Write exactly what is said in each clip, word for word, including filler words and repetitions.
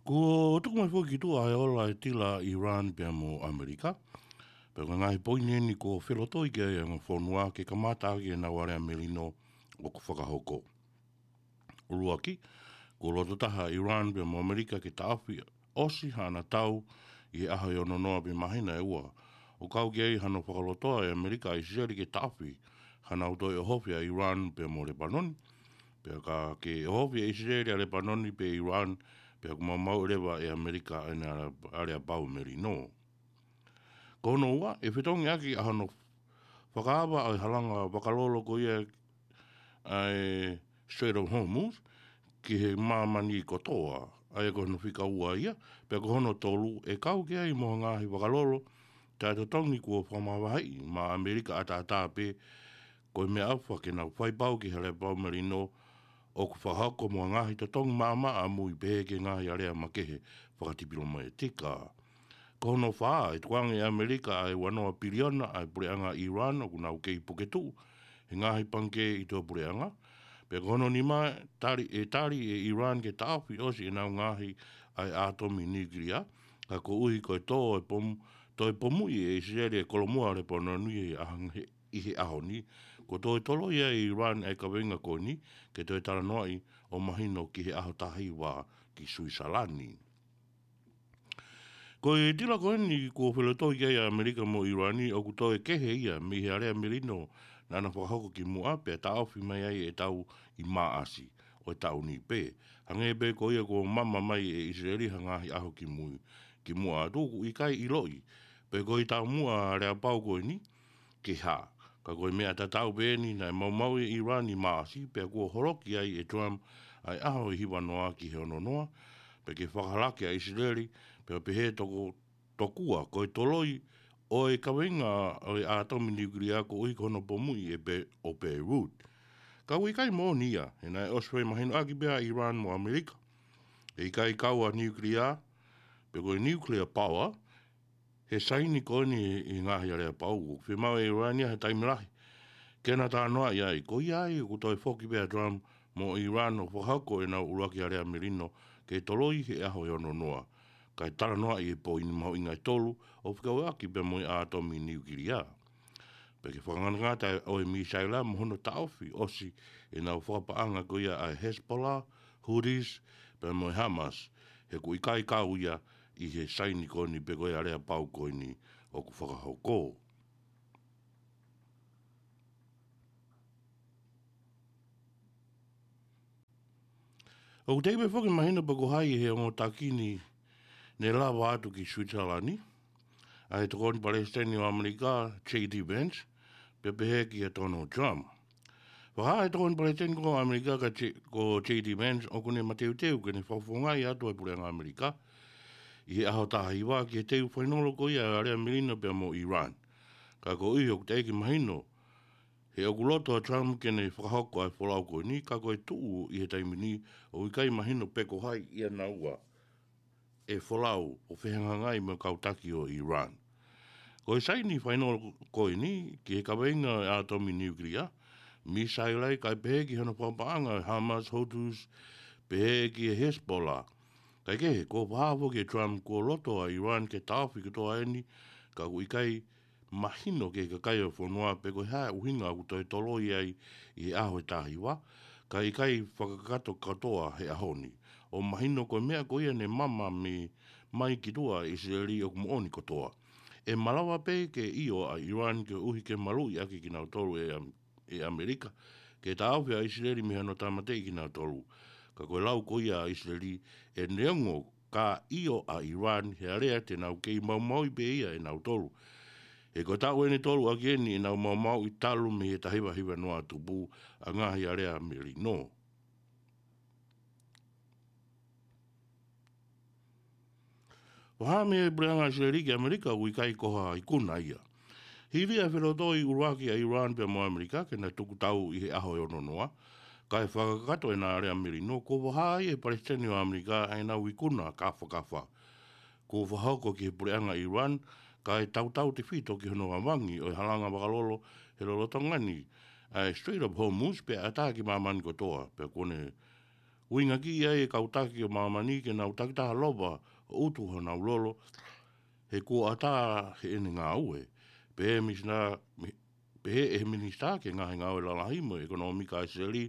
Kuo tuku mai foki ki tuʻa e ola e tila ʻa Iran pea mo ʻAmelika. Pea ko e ngaahi poini eni kuo felotoi ki ai e ongo fonua ke kamata ʻaki ʻenau alea melino ʻoku fakahoko. ʻUluaki, kuo loto taha ʻa Iran pea mo ʻAmelika ke taʻofi ʻosi haʻana tau ʻi he ʻaho ʻe ono noa pē māhina ʻe ua. ʻO kau ki ai hano fakalotoa ʻe ʻAmelika ʻa ʻIsileli ke taʻofi hanau toe ʻohofi ʻa Iran pea mo Lepanoni. Pea ka ke ʻohofi ʻe ʻIsileli ʻa Lepanoni pe Iran, pea ʻoku maumauʻi leva ʻe ʻAmelika ʻene alea, aleapau melino. Ko hono ua, ʻe fetongi ʻaki ʻa hono fakaava ʻa e halanga vakalolo ko ia ʻa e Strait of Hormuz ki he māmani kotoa, ʻa ia ko hono fika ua ia. Pea ko hono tolu, ʻe kau ki ai mo e ngaahi vakalolo taʻetotongi kuo fakamavaheʻi maʻa ʻAmelika ʻataʻatā pē, ko e meʻaʻofa ke nau faipau ki he aleapau melino ʻoku fakahoko mo e ngaahi totongi maʻamaʻa ʻamui pehē ki he ngaahi alea makehe fakatipilomatika. Ko hono fā, ʻe tukuange ʻe ʻAmelika ʻa e ua noa piliona ʻa e puleʻanga Iran ʻoku nau kei puke tuʻu he ngaahi pangikē ʻi tuʻa puleʻanga. Pea ko hono nima, tali, ʻe tali ʻe Iran ke taʻofi ʻosi ʻenau ngaahi ʻa e ʻātomi niukilia, ka koeʻuhi ko e tō e pom-, toe pomuʻi ʻe ʻIsileli e kolomua Lepanoni he ʻaho, he, ʻi he ʻaho ni, kuo toe toloi ʻe Iran ʻa e kaveinga ko eni ke toe talanoaʻi ʻo mahino ki he ʻaho taha hiva ki Suisalani. Ko e tila ko eni kuo felotoi ki ai ʻa ʻAmelika mo ʻIrani ʻoku toe kehe ia mei he alea melino naʻa na fakahoko kimuʻa pea taʻofi mai ai ʻe tau ʻi Maʻasi ʻo e taʻu ni pē. Hangē pē ko ia kuo mama mai ʻe ʻIsileli ha ngaahi ʻaho kimui, kimuʻa atu ʻoku ʻikai ʻiloʻi pe ko e taumuʻa aleapau ko eni ki he hā. Ka ko e meʻa tatau pē eni naʻe maumauʻi ʻe Iran ʻi Maʻasi pea kuo holoki ai ʻe Trump ʻa e ʻaho ʻe hiva noa ki he ono noa, pea ke fakahalaaki ʻa ʻIsileli, pea pehē toko, tokua ko e toloi ʻo e kaveinga ʻo e ʻātomi niukilia koeʻuhi ko hono pomuʻi ʻe Be-, ʻo Beirut. Ka ʻoku ʻikai moʻoni ia, he naʻe ʻosi fakamahinoʻaki pē ʻa Iran mo ʻAmelika ʻe ʻikai kau ʻa nuclear, pe ko e nuclear power, he saini ko eni ʻi he ngaahi aleapau. ʻOku fiemaʻu ʻe ʻIrani ia he taimi lahi ke na talanoaʻi ai. Ko ia ai ʻoku toe foki pē ʻa Trump mo Iran ʻo fakahoko ʻenau ʻuluaki alea melino ke toloi he ʻaho ʻe ono noa, kae talanoaʻi e poini mahuʻinga ʻe tolu ʻo fekauʻaki pea mo e ʻātomi niukilia. Pea ke fakangatangata ʻo e misaila mo hono taʻofi ʻosi ʻenau fakapaʻanga ko ia ʻa e Hezbollah, Houthis, pea mo e Hamas, he ʻoku ʻikai kau ia ʻi he saini ko eni pe ko e aleapau ko eni ʻoku fakahoko. ʻOku teʻeki pē foki mahino pe ko hai he ongo taki ni ne lava atu ki Suisalani, ʻa e tokoni palesiteni ʻo ʻAmelika, J D Vance, pea pehē kia Donald Trump. Fakahā ʻe he tokoni palesiteni ko ʻAmelika ka J-, ko J D Vance ʻoku ne mateuteu ke ne fakafofongaʻi atu ʻa e puleʻanga ʻAmelika ʻi he ʻaho taha hiva ki he teu fainolo ko ia ʻa e alea melino pea mo Iran. Ka koeʻuhi ʻoku teʻeki mahino he ʻoku loto ʻa Trump ke ne fakahoko ʻa e folau ko eni, ka ko e tuʻu ʻi he taimi ni ʻoku ʻikai mahino pe ko hai ia naua ʻe folau ʻo fehangahangai mo e kau taki ʻo Iran. Ko e saini fainolo ko eni ki he kaveinga ʻo e ʻātomi niukilia, misaila ia, kae pehē ki hono fakapaʻanga ʻo e Hamas, Houthis, pehē ki he Hezbollah. Kae kehe, kuo fakahā foki ʻe Trump kuo loto ʻa Iran ke taʻofi kotoa eni, ka ʻoku ʻikai mahino ki he kakai ʻo e fonua pe ko e hā e ʻuhinga ʻoku toe toloi ai ʻi he ʻaho ʻe taha hiva, kae ʻikai fakakakato kotoa he ʻaho ni. ʻO mahino ko e meʻa ko ia ne mama mai ki tuʻa ʻe ʻIsileli ʻoku moʻoni kotoa. ʻE malava pē ke ʻio ʻa Iran koeʻuhi ke maluʻi ʻaki kinautolu ʻe ʻAm-, ʻe ʻAmelika ke taʻofi ʻa ʻIsileli mei hano tāmateʻi kinautolu. Ka ko e lau ko ia ʻa ʻIsileli, ʻe neongo ka ʻio ʻa Iran, he alea te nau kei maumauʻi pē ia ʻe nautolu. He ko e taʻu ʻeni tolu ʻaki eni ʻenau maumauʻi talu mei he taha hiva hiva noa tupu ʻa e ngaahi alea melino. Fakahā mei he puleʻanga ʻIsileli ki ʻAmelika ʻoku ʻikai ko ha ikuna ia. Hili ʻa e felotoi ʻuluaki ʻa Iran pea mo ʻAmelika ke na tuku tau ʻi he ʻaho ʻe ono noa, kae fakakakato ʻena alea melino, kuo fakahā ai ʻe he palesiteni ʻo ʻAmelika ʻa ʻenau ikuna kāfakafa kuo fakahoko ki he puleʻanga Iran, kae tautautefito ki hono vavangi ʻo e halanga vakalolo he lolotonga ni ʻa e Strait of Hormuz pea ʻatā ki māmani kotoa, pea kuo ne ʻuhinga ki ai e kau taki ʻo māmani ke nau takitaha lava ʻo ʻutu honau lolo, he kuo ʻatā heʻene ngāue. Pehē e minisitā, mi-, pehē ʻe he minisitā ki he ngaahi ngāue lalahi mo e ʻekonōmika ʻa ʻIsileli,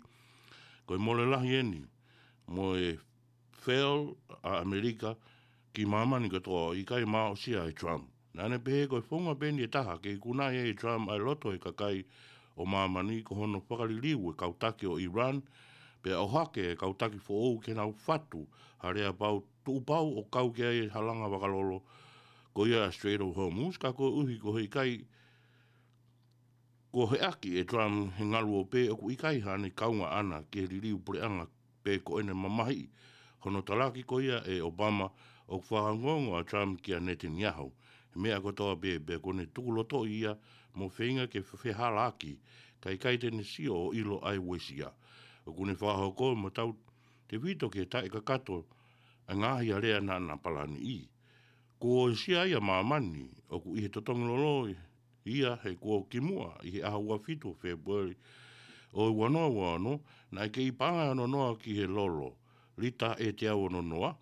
ko e mole lahi eni mo e fail ʻa ʻAmelika ki māmani kotoa, ʻikai māʻosia ʻe Trump. Naʻa ne pehē ko e founga pē eni ʻe taha ke ikunaʻi ai ʻe Trump ʻa e loto ʻo e kakai ʻo māmani ko hono fakaliliu e kau taki ʻo Iran, pea ʻohake e kau taki foʻou ke nau fatu ha lea pau, tuʻu pau ʻo kau ki ai e halanga vakalolo ko ia ʻa Strait of Hormuz, ka koeʻuhi ko e ʻikai ko e ʻohake ʻe Trump he ngaluope, ʻoku ʻikai haʻane kaunga ʻaʻana ki he liliu puleʻanga pe ko ʻene mamahiʻi hono talaki ko ia ʻe Obama, ʻoku fakaongoongo ʻa Trump kia Netanyahu he meʻa kotoa pē, pea kuo ne tukulotoʻi ia mo feinga ke fehalaaki, kae ʻikai te ne sio ʻo ʻilo ʻa e uesia. ʻOku ne fakahoko mo tautefito ke taʻekakato ʻa e ngaahi alea naʻa na palaniʻi. Kuo uesia ia ʻa māmani, ʻoku ʻi he totongi lolo ia he kuo kimuʻa ʻi he ʻaho ua fitu ʻo Fēpueli ʻo e ua noa ua ono, naʻe kei paʻanga ʻe ono noa ki he lolo lita ʻe teau ono noa,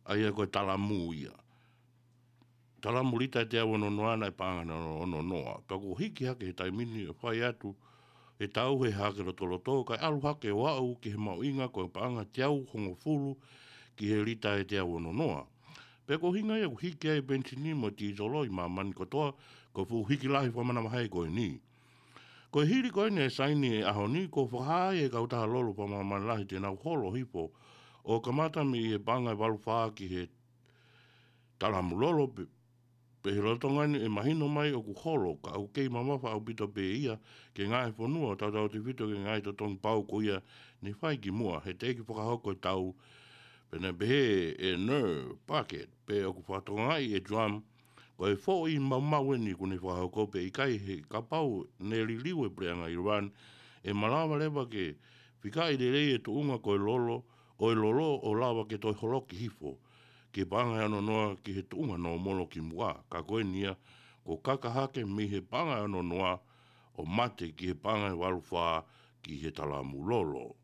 ʻa ia ko e talamu ia. Talamu lita ʻe teau ono noa naʻe paʻanga ʻe ono noa. Pea kuo hiki hake he taimi ni ʻo fai atu e tau he hake lotoloto, kae ʻalu hake ʻo aʻu ki he mahuʻinga ko e paʻanga teau hongofulu ki he lita ʻe teau ono noa. Pea ko e ʻuhinga ia ʻoku hiki ai e penisini mo e tīsolo ʻi māmani kotoa, ko e fuʻu hiki lahi fakamanavahē ko eni. Ko e hili ko eni e saini he ʻaho ni, kuo fakahā ai e kautaha lolo fakamāmani lahi te nau holo hifo ʻo kamata mei he paʻanga ʻe valu fā ki he talamu lolo pe-, pea he lolotonga ni ʻe mahino mai ʻoku holo, ka ʻoku kei mamafa ʻaupito pē ia ki he ngaahi fonua, tautautefito ki he ngaahi totongi pau ko ia ne fai kimuʻa he teʻeki fakahoko e tau. Pea naʻe pehē ʻe Nair Packard, pea ʻoku fakatokangaʻi ʻe Trump ko e foʻi maumau eni kuo ne fakahoko, pea ʻikai he kapau ne liliu e puleʻanga Iran, ʻe malava leva ke fikaʻi lelei e tuʻunga ko e lolo, ʻo e lolo ʻo lava ke toe holoki hifo ki he paʻanga ʻe ono noa ki he tuʻunga nōmolo kimuʻa. Ka ko eni ia, kuo kaka hake mei he paʻanga ʻe ono noa ʻo mate ki he paʻanga ʻe valu fā ki he talamu lolo.